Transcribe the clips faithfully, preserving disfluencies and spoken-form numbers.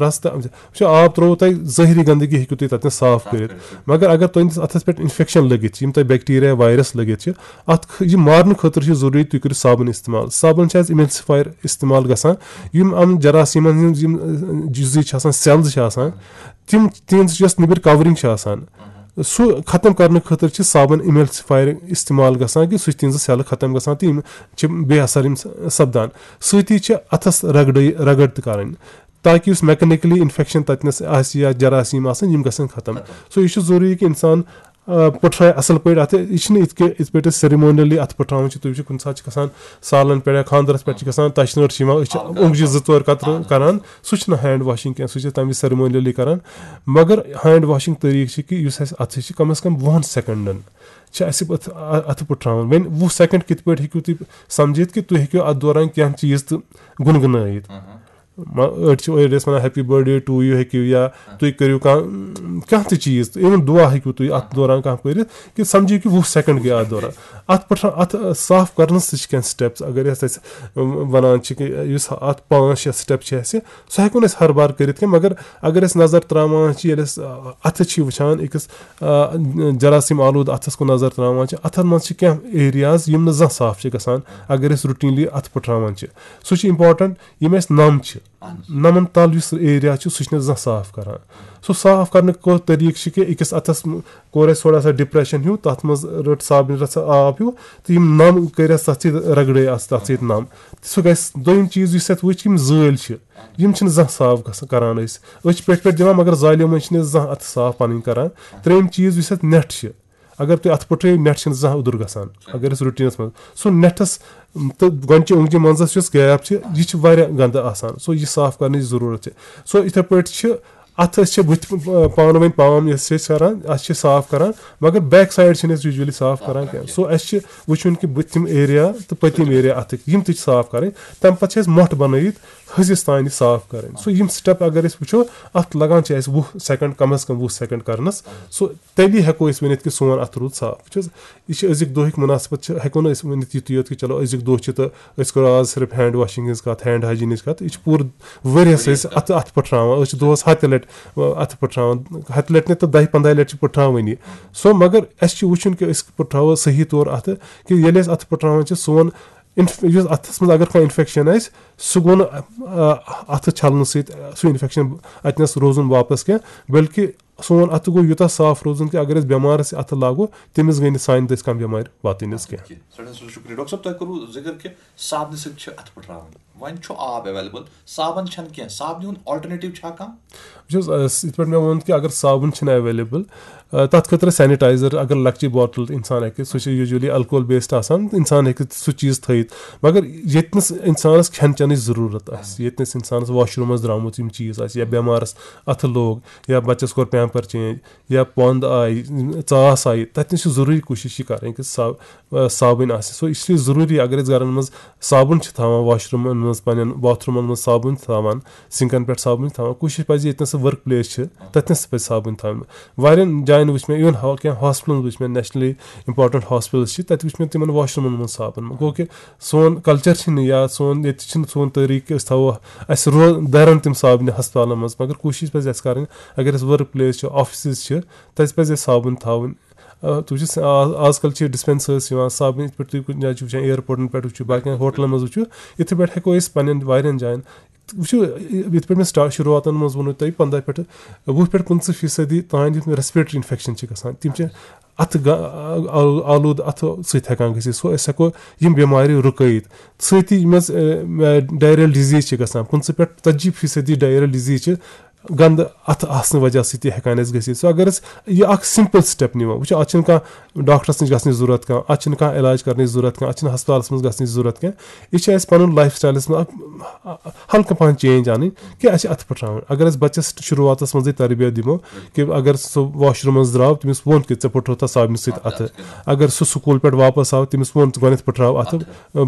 رَس تہٕ وٕچھو، آب ترٛووُ تۄہہِ، ظٲہری گنٛدگی ہیٚکِو تُہۍ تَتٮ۪ن صاف کٔرِتھ۔ مگر اگر تُہٕنٛدِس اَتھَس پٮ۪ٹھ اِنفٮ۪کشَن لٔگِتھ چھِ، یِم تۄہہِ بیکٹیٖریا، وایرَس لٔگِتھ چھِ، اَتھ خ-، یہِ مارنہٕ خٲطرٕ چھِ ضروٗری تُہۍ کٔرِو صابَن استعمال۔ صابَن چھِ اَسہِ اِمَلسِفایَر استعمال گژھان، یِم یِم جراثیٖمَن ہٕنٛز یِم، اَ، جُزی چھِ آسان، سیلٕز چھِ آسان، تِم تِہِنٛز یۄس نیٚبٕرۍ کَورِنٛگ چھِ آسان، سُہ ختم کرنہٕ خٲطرٕ چھِ صابن اِملسِفایر استعمال گژھان، کہِ سُہ چھِ تِہنٛزٕ سیلہٕ ختم گژھان تہٕ یِم چھِ بے اثر یِم س-، سپدان۔ سۭتی چھِ اتھس رگڑے، رگڑ تہِ کرٕنۍ، تاکہِ یُس میکنیکلی انفیکشن تتنس آسہِ یا جراثیم آسن، یِم گژھن ختم۔ سو یہِ چھُ ضروٗری کہِ انسان، آ، پٔٹھراوِ اصل پٲٹھۍ اتھٕ۔ یہِ چھِنہٕ یِتھ کٔنۍ، یِتھ پٲٹھۍ أسۍ سیریمونیلی اتھٕ پٔٹھراوان چھِ، تُہۍ وٕچھِو کُنہِ ساتہٕ چھِ گژھان سالن پٮ۪ٹھ یا خانٛدرس پٮ۪ٹھ چھِ گژھان تشنٲر چھِ یِوان، أسۍ چھِ اونٛگجہِ زٕ ژور قطرٕ کران، سُہ چھُنہٕ ہینڈ واشنگ کینٛہہ، سُہ چھِ تمہِ وِزِ سیریمونیلی کران۔ مگر ہینڈ واشنگ طریٖقہٕ چھِ کہِ یُس اَسہِ اَتھٕ چھِ کم از کم وُہن سیکنڈن چھِ اَسہِ اَتھ، اَتھٕ پٔٹھراوُن۔ وۄنۍ وُہ سیکنڈ کِتھ پٲٹھۍ ہیٚکِو تُہۍ سمجھِتھ کہِ تُہۍ ہیٚکِو اَتھ دوران کینٛہہ چیٖز تہٕ گُنگُنٲیِتھ؟ ما-، أڑۍ چھِ، أڑۍ ٲسۍ وَنان happy birthday to you ہیٚکِو، یا تُہۍ کٔرِو کانٛہہ، کانٛہہ تہِ چیٖز، even دُعا ہیٚکِو تُہۍ اَتھ دوران کانٛہہ پٔرِتھ، کہِ سمجھِو کہِ وُہ سیکنڈ گٔے اَتھ دوران۔ اَتھ پٔٹھرا-، اَتھ صاف کرنَس تہِ چھِ کینٛہہ steps۔ اگر أسۍ اَسہِ وَنان چھِ کہِ یُس اَتھ پانٛژھ شےٚ step چھِ اَسہِ، سُہ ہٮ۪کو نہٕ أسۍ ہر بار کٔرِتھ کینٛہہ، مگر اگر أسۍ نظر ترٛاوان چھِ، ییٚلہِ أسۍ، آ، اَتھٕ چھِ وٕچھان أکِس، آ، جراثیم آلوٗد اَتھَس کُن نظر ترٛاوان چھِ، اَتھَن منٛز چھِ کینٛہہ areas یِم نہٕ زانٛہہ صاف چھِ گژھان، اگر أسۍ routinely اَتھٕ پٔٹھراوان چھِ۔ سُہ چھُ important، یِم اَسہِ نَم چھِ، نَمَن تَل یُس area چھُ، سُہ چھِنہٕ أسۍ زانٛہہ صاف کَران۔ سُہ صاف کَرنُک کوٚر طریٖقہٕ چھِ کہِ أکِس اَتھَس م-، کوٚر اَسہِ تھوڑا سا depression ہیوٗ، تَتھ منٛز رٔٹ صابنہِ رَژھا آب ہیوٗ، تہٕ یِم نَم کٔرۍ اَسہِ تَتھ سۭتۍ رَگڑے اَسہِ تَتھ سۭتۍ نَم۔ سُہ گژھِ۔ دوٚیِم چیٖز یُس اَتھ وٕچھ، یِم زٲلۍ چھِ، یِم چھِنہٕ زانٛہہ صاف گژھان، کران أسۍ۔ أسۍ چھِ پٮ۪ٹھ پٮ۪ٹھ دِوان، مگر زالیو منٛز چھِنہٕ أسۍ زانٛہہ اَتھٕ صاف پَنٕنۍ کران۔ ترٛیٚیِم چیٖز یُس اَتھ net چھِ، اگر تُہۍ اَتھٕ پٔٹھرٲیِو، net چھِنہٕ زانٛہہ اوٚدُر گژھان۔ اگر أسۍ routineس منٛز سُہ netس تہٕ گۄنچہِ اوٚنٛگجہِ منٛزَس یُس gap چھِ، یہِ چھِ واریاہ گنٛدٕ آسان۔ سو یہِ صاف کرنٕچ ضروٗرت چھِ۔ سو یِتھَے پٲٹھۍ چھِ اَتھ، أسۍ چھِ بٕتھِ پانہٕ ؤنۍ palm یۄس چھِ أسۍ کران، اَتھ چھِ صاف کران، مگر back side چھِنہٕ أسۍ usually صاف کران کینٛہہ۔ سو اَسہِ چھِ وٕچھُن کہِ بٕتھِم area تہٕ پٔتِم area اَتھٕکۍ، یِم تہِ چھِ صاف کرٕنۍ۔ تَمہِ پَتہٕ چھِ اَسہِ مۄٹھ بَنٲیِتھ حٔجِس تانۍ صاف کرٕنۍ۔ سو یِم step اگر أسۍ وٕچھو، اَتھ لگان چھِ اَسہِ وُہ second، کم از کم وُہ second کرنَس۔ سو تیٚلی ہٮ۪کو أسۍ ؤنِتھ کہِ سون اَتھٕ روٗد صاف۔ وٕچھ حظ، یہِ چھِ أزیُک دۄہٕکۍ مُناسبت چھِ، ہٮ۪کو نہٕ أسۍ ؤنِتھ یُتُے یوت کہِ چلو أزیُک دۄہ چھِ تہٕ أسۍ کَرو آز صرف hand washing ہِنٛز کَتھ، hand hygieneٕچ کَتھ۔ یہِ چھِ پوٗرٕ ؤریَس أسۍ اَتھٕ، اَتھٕ پٔٹھراوان، أسۍ چھِ دۄہَس ہَتہِ لَٹہِ، اَتھٕ پٔٹھراوان، ہَتہِ لَٹہِ نہٕ تہٕ دَہہِ پنٛداہہِ لَٹہِ چھِ پٔٹھراوٲنی۔ سو مگر اَسہِ چھِ وٕچھُن کہِ أسۍ کِتھ پٲٹھۍ تھاوو صحیح طور اَتھٕ، کہِ ییٚلہِ أسۍ اَتھٕ پٔٹھراوان چھِ، سون اِنف-، یُس اَتھَس منٛز اگر کانٛہہ اِنفٮ۪کشَن آسہِ، سُہ گوٚو نہٕ، آ، اَتھٕ چھَلنہٕ سۭتۍ سُہ اِنفٮ۪کشَن اَتہِ نَس روزُن واپَس کینٛہہ، بلکہِ سون اَتھٕ گوٚو یوٗتاہ صاف روزُن کہِ اگر أسۍ بٮ۪مارَس یہِ اَتھٕ لاگو، تٔمِس گٔے نہٕ سانہِ دٔسۍ کانٛہہ بٮ۪مارِ واتٕنۍ حظ کینٛہہ۔ ٹھیٖک، سٮ۪ٹھاہ سٮ۪ٹھاہ شُکریہ۔ ڈاکٹر صٲب، تۄہہِ کوٚروٕ ذِکر کہِ صابنہِ سۭتۍ چھِ اَتھٕ پٔٹھراوان۔ وۄنۍ چھُ آب available، صابن چھَنہٕ کینٛہہ، صابنہِ ہُنٛد alternative چھا کانٛہہ؟ وٕچھ حظ، اَس-، یِتھ پٲٹھۍ مےٚ ووٚن کہِ اگر صابن چھِنہٕ available، آ، تَتھ خٲطرٕ sanitizer، اگر لۄکچی bottle اِنسان ہیٚکہِ، سُہ چھُ usually alcohol based آسان، اِنسان ہیٚکہِ سُہ چیٖز تھٲیِتھ۔ مگر ییٚتہِ نَس اِنسانَس کھٮ۪ن چٮ۪نٕچ ضروٗرت آسہِ، ییٚتہِ نَس اِنسانَس washroomس درٛامُت یِم چیٖز آسہِ، یا بٮ۪مارَس اَتھٕ لوگ، یا بَچَس کوٚر pamper change، یا پۄنٛد آیہِ، ژاس آیہِ، تَتہِ نَس چھِ ضروٗری کوٗشِش یہِ کَرٕنۍ کہِ صا-، آ، صابٕنۍ آسہِ۔ سو اِسلیے ضروٗری اگر أسۍ گَرَن منٛز صابن چھِ تھاوان، washroomن منٛز، پنٛنٮ۪ن bathroomن منٛز صابن چھِ تھاوان، sinkن پٮ۪ٹھ صابن چھِ تھاوان، کوٗشِش پَزِ ییٚتہِ نَس سُہ work place چھِ، تَتہِ نَس پَزِ صابن تھاوٕنۍ۔ واریاہَن جایَن وٕچھ مےٚ، even ہا-، کینٛہہ hospitalن وٕچھ مےٚ، nationally important hospitals چھِ، تَتہِ وٕچھ مےٚ تِمَن washroomن منٛز صابن۔ گوٚو کہِ سون culture چھِنہٕ، یا سون ییٚتہِ چھِنہٕ سون طریٖقہٕ کہِ أسۍ تھاوو، اَسہِ رو-، دَرَن تِم صابنہِ ہسپتالَن منٛز، مگر کوٗشِش پَزِ اَسہِ کَرٕنۍ، اگر اَسہِ work place چھُ، offices چھِ، تَتہِ پَزِ اَسہِ صابن تھاوٕنۍ۔ آ، تُہۍ وٕچھِو، آ-، آز کَل چھِ dispensers یِوان صابنہِ، یِتھ پٲٹھۍ تُہۍ کُنہِ جایہِ چھِو وٕچھان، airportن پٮ۪ٹھ وٕچھِو، باقیَن ہوٹلَن منٛز وٕچھِو، یِتھَے پٲٹھۍ ہٮ۪کو أسۍ پنٛنٮ۪ن واریاہَن جایَن، وٕچھِو، یِتھ پٲٹھۍ مےٚ سٹا-، شروٗعاتَن منٛز ووٚنوُ تۄہہِ، پنٛداہ پٮ۪ٹھٕ، وُہ پٮ۪ٹھ پٕنٛژٕہ فیٖصدی تام یُتھ مےٚ respiratory infection چھِ گژھان، تِم چھِ اَتھٕ گا-، آ-، آلوٗد اَتھٕ سۭتۍ ہٮ۪کان گٔژھِتھ۔ سو أسۍ ہٮ۪کو یِم بٮ۪مارِ رُکٲیِتھ۔ سۭتی یِم حظ، آ، diarrheal disease چھِ گژھان، پٕنٛژٕہ پٮ۪ٹھ ژَتجی فیٖصدی diarrheal disease چھِ گنٛدٕ اَتھٕ آسنہٕ وجہ سۭتۍ تہِ ہٮ۪کان اَسہِ گٔژھِتھ۔ سو اگر أسۍ یہِ اَکھ simple step نِمو، وٕچھو، اَتھ چھِنہٕ کانٛہہ ڈاکٹرَس نِش گژھنٕچ ضوٚرَتھ کانٛہہ، اَتھ چھِنہٕ کانٛہہ علاج کَرنٕچ ضوٚرَتھ کانٛہہ، اَتھ چھِنہٕ ہسپتالَس منٛز گژھنٕچ ضوٚرَتھ کانٛہہ۔ یہِ چھِ اَسہِ پَنُن lifestyleَس منٛز اَکھ ہلکہٕ پَہَن change اَنٕنۍ کہِ اَسہِ چھِ اَتھٕ پٔٹھراوٕنۍ۔ اگر أسۍ بَچَس شروٗعاتَس منٛزٕے تربیت دِمو کہِ اگر سُہ washroomس درٛاو، تٔمِس ووٚن کہِ ژےٚ پٔٹھرو تھا صابنہِ سۭتۍ اَتھٕ۔ اگر سُہ سکوٗل پٮ۪ٹھ واپَس آو، تٔمِس ووٚن ژٕ گۄڈٕنٮ۪تھ پٔٹھراو اَتھٕ،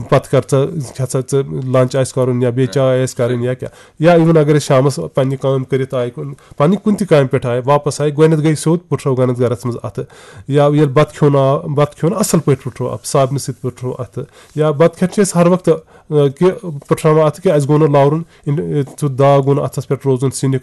پَتہٕ کر ژٕ، کھےٚ ژٕ، ژٕ lunch آسہِ کَرُن یا بیٚیہِ چاے آسہِ کَرٕنۍ یا کیٛاہ۔ یا even اگر أسۍ شامَس پنٛنہِ کامہِ کٔرِتھ آے کُن، پَنٕنہِ کُنہِ تہِ کامہِ پٮ۪ٹھ آے، واپَس آے، گۄڈٕنٮ۪تھ گٔے سیوٚد پٔٹھرٲو گۄڈٕنٮ۪تھ گَرَس منٛز اَتھٕ۔ یا ییٚلہِ بَتہٕ کھیوٚن آو، بَتہٕ کھیوٚن اَصٕل پٲٹھۍ پٔٹھرٲو اَتھٕ، صابنہِ سۭتۍ پٔٹھرٲو اَتھٕ۔ یا بَتہٕ کھٮ۪تھ چھِ أسۍ ہَر وقتہٕ، آ، کہِ پٔٹھراوان اَتھٕ کہِ اَسہِ گوٚو نہٕ لَورُن، اِن-، سُہ داغ گوٚو نہٕ اَتھَس پٮ۪ٹھ روزُن، سِنہِ